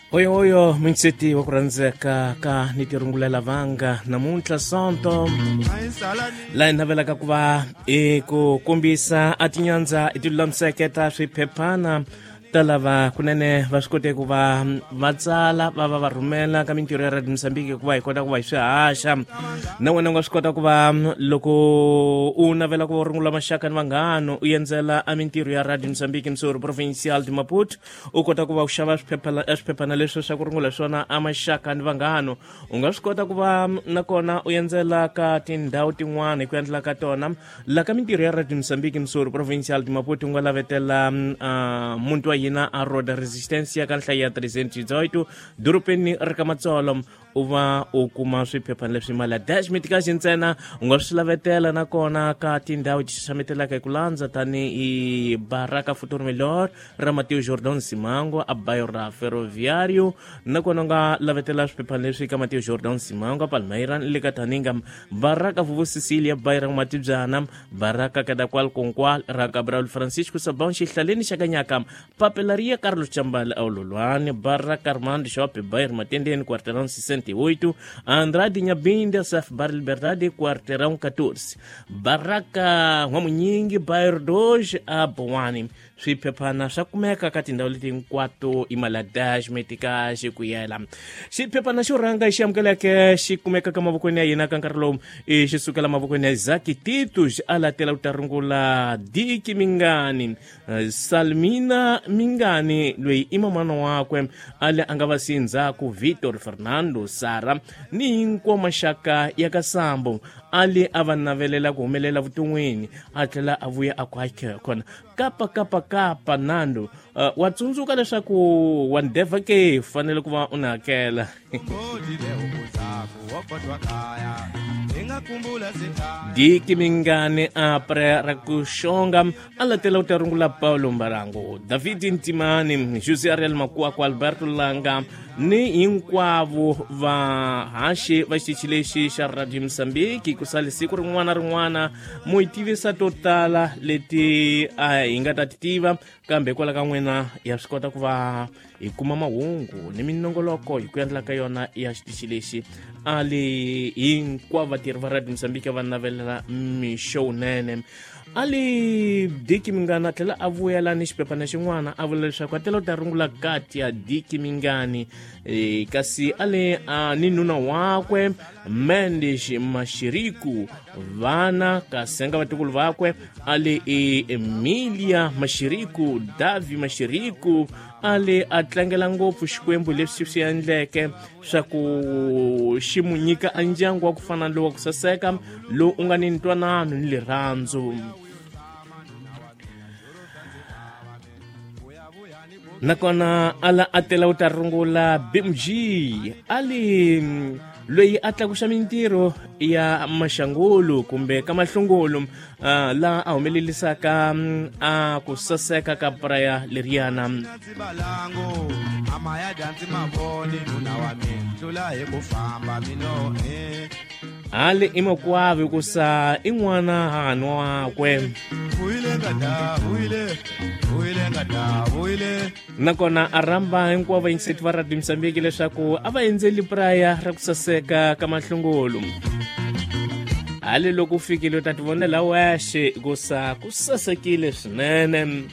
Oyo minseti wa ku rhandzeka ka ni tirungulela vanga namuntlha sonto laha hi navelaka ku va i ku kombisa a tinyandza i tilulamiseke ta swiphephana ta lava kunene va swi kote ku va va tsala va va va rhumela ka mintirho ya Radio Mozambique ku va hi kota ku va hi swi haxa. Na wena u nga swi kota ku va loko u navela ku va u rungula maxaka ni vanghano u endzela a mintirho ya Radio Mozambique Msori Provincial de Maputo, u kota ku va u xava swiphephana leswi swa ku rungula swona a maxaka ni vanghano. U nga swi kota ku va nakona u endzela ka tindhawu tin'wana hi ku endla ka tona la ka mintirho ya Radio Mozambique Msori Provincial de Maputo. U nga lavetela muti wa hina a Roda Resistencia ka nhlayo ya 318 dorobeni ri ka Matsolo, u va u kuma swiphephana leswi mali ya dash mitikaxi ntsena. U nga swi lavetela nakona ka tindhawu ti xaxametelaka hi ku landza tanihi Baraka Futuro Melhor ra Mateo Jordan Simango a bayo ra Ferroviario. Nakona u nga lavetela swiphephana leswi ka Mateo Jordan Simango a Palmeira ni le ka Taninga, Baraka Vuvu Cecilia bayo ra N'watibyana, Baraka Kadakwal Konkwal ra Gabriel Francisco Sabão xihlaleni xa Kanyaka, Papelaria Carlos Chambala Aulolwane, Baraka Armando Shoppe Bairro Matendeni quarteirão 68, Andrade Nhabinda Saf Bar Liberdade quarteirão 14, Baraka N'wamunyingi Bairro 2 a Boane. Swiphephana swa kumeka ka tindhawu leti hinkwato i maladash metikaxi ku yela. Xiphephana xo rhanga xi amukeleke xi kumeka ka mavokweni ya hina ka nkarhi lowu i xi sukela mavokweni ya Isaki Titus, a latela ku ta rungula Diki Mingani, Salmina Mingani loyi i mamana wakwe, a le a nga va siyi ndzhaku Vitor Fernando, Sara ni hinkwawo maxaka ya ka Sambo. A le a va navelela ku humelela vuton'wini, a tlhela a vuya a ku kona kapa kapa kapa nando. Wa tsundzuka leswaku wa ndevha ke fanele ku va u ni hakela. Diki Mingani apre ra ku xonga a latela u ta rungula Paulo Mbarango, David Ntimani, José Ariel Makuaku, Alberto Langa ni hinkwavo vahaxi va xitichi lexi xa Radio Mozambique. Ku sale siku rin'wana rin'wana mu hi tivisa to tala leti a hi nga ta ti tiva, kambe hikwalaho ka n'wina ya swi kota ku va hi kuma mahungu ni minongoloko hi ku endla ka yona ya xitichi lexi. A li hinkwavo vatirhi va Radio Mozambique va navelela mixo wunene. A li Diki Mingani a tlhela a vuyela ni xiphephana xin'wana, a vula leswaku a tela u ta rungula kati ya Diki Mingani, kasi a le a ni nuna wakwe Mendes Mashiriku, vana kasenga vatukulu vakwe a le i Emilia Mashiriku, Davi Mashiriku. A le a tlangela ngopfu Xikwembu leswi swi endleke swa ku xi mu nyika a ndyangu wa ku fana lowu wa ku saseka lowu u nga ni ntwanano ni rirhandzu. Nakona ala a tela u ta rungula BMG a li loyi a tlakuxa mintirho ya maxangulu kumbe ka mahlungulu, laha a humelelisaka a ku saseka ka praya leriyana. Hali i makwavi ku sa i n'wana hahani wakwe. Nakona a rhamba hinkwavo vayingiseti va Radio Mozambique leswaku a va endzeli praya ra ku saseka ka mahlungulu. Hali loko u fikile u ta tivonela wexe ku sa ku sasekile swinene.